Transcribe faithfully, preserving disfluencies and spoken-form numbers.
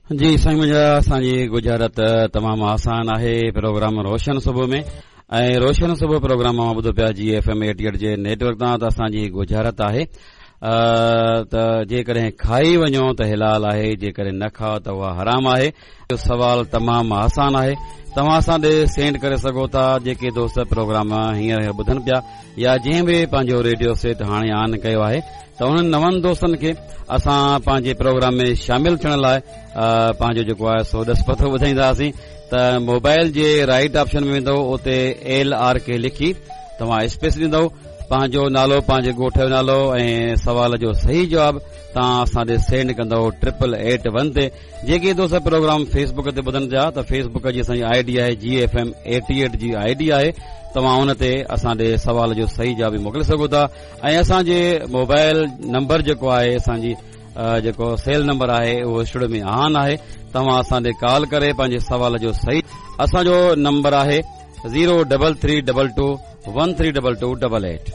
جي سائين منهنجا، اسان جي ڳجهارت تمام آسان آهي. پروگرام روشن صبح ۾ ۽ روشن صبح پروگرام اوهان ٻڌو پيا جي ايف ايم ايٽي ايٽ جي نيٽ ورڪ تان. ته اسان جي ڳجهارت آهي ته جيڪڏهن کائي وڃو ته حلال آهي، جيڪڏهن نه کائو ته اها حرام آهي. سوال تمام آسان آهي، توهان اسان ڏي سينڊ ڪري سگهو ٿا. جيڪي دوست پروگرام هينئر ٻڌن پيا يا جنهن به پنهنجو ريڊيو سيٽ هاڻي آن ڪيو آهي، ته انهن نون دوستن کي اسان پنهنجي پروگرام ۾ شامل ٿيڻ لاء پنهنجو جيڪو آهي سو ڏس پتو ٻڌائينداسين. ته موبائل جي رائٽ آپشن ۾ ويندو، اتي ايل آر ڪي لکي توهان اسپيس ڏيندو، پنهنجو نالو، پنهنجي ڳوٺ جو نالو ۽ سوال جو صحيح جواب توهان اسان ڏي سينڊ ڪندو ٽرپل ايٽ ون تي. جيڪي دوست پروگرام فيس بڪ تي ٻڌن پيا ته فيس بڪ جي اسان جي I D آهي جي ايف ايم ايٽي ايٽ جي I D آهي، توهان ان تي اسان ڏي سوال جو صحيح جواب به موڪلي سگهو ٿا. ۽ اسان جي موبائل نمبر جيڪو آهي، اسان جي جيڪو سيل نمبر آهي، اهو اسٽوڊيو ۾ آن آهي. توهان اسان ڏي ڪال ڪري پنهنجي سوال جو صحيح، اسان جو نمبر آهي zero double three double two one three double two double eight.